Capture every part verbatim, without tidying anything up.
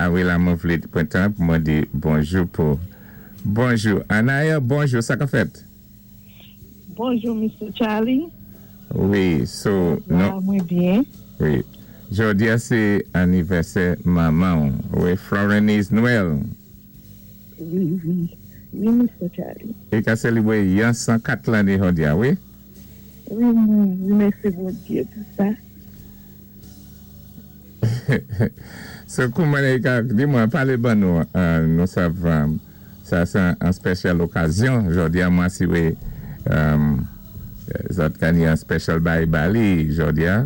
A wi, la mwen vlé pwan tan pou mwen di bonjou pou. Bonjou. Anaya, bonjou, sa ka fèt? Bonjou, Mister Charlie. Wi, so, non. Mwen byen. Wi. Jodi a sé anivèsè manman. Wi, Florenise Noël. Wi, wi. Wi, Mister Charlie. I ka sélibwé yon san kat lanné jodi a, wi? Wi, mwen wimèsyé Bondyé pou sa. So, kouman i ka, di mwen, palé ban nou, nou sav, sa sé an special okazyon, jodi a mwen siwé, zòt ka ni an special bay bali, jodi a,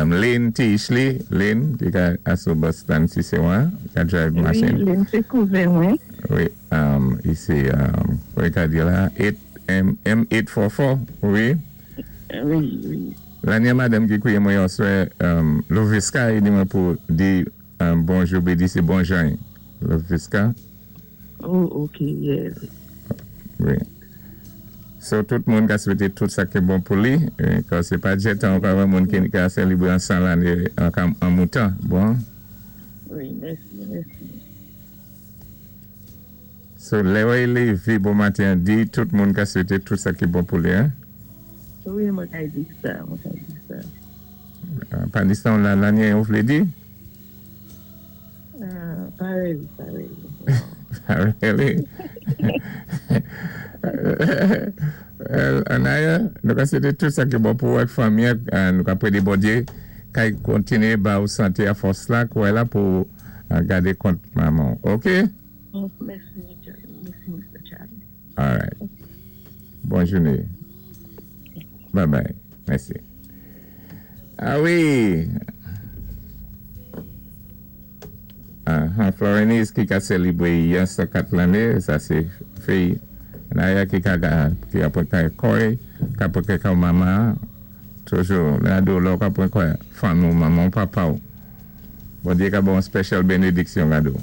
Lynn T. Ishley, Lynn, ki ka asou bus stand si sé wan, ka drive machine. Wi, Lynn, sé kouzen mwen. Wi, i sé, wi ka di la, M eight four four, wi? Wi, wi. Lanyè madanm ki kwié mwen yon swè, Loviska, i di mwen pou di bonjou, bi di sé bonjan, Loviska. Oh, ok, yes. Wi. So, tout moun ka swété tout sa ki bon pou li, kan sé pa djétan, ka wè moun ki ka sélibwé an san lanné an moutan, bon? Wi, mèsi, mèsi. So, lè wè lévé bon maten, di tout moun ka swété tout sa ki bon pou li, hein? Wi, mwen ka di sa, mwen ka di sa. Pa distan la lanyè ou vlé di? Pa really, pa really. Pa really? Anaya, nou ka swété tout sa ki bon pou wèk fanmi, nou ka prédé Bondyé, kay kontiné ba ou santé a fòs la, kouwè la pou gadé kont manman. Ok? Mèsi, mèsi, Mister Charlie. All right. Bon jouné. Bye bye. Mèsi. A wi. Uh, Florenise ki ka sélibwé yon san kat lanné, sa sé fi Anaya ki ka ki apwen kay koy, ka apwen kay mama, toujou, la do lò ka apwen koy, fanmi ou manman, papa ou. Bondyé ka bon special bénédiksyon la do.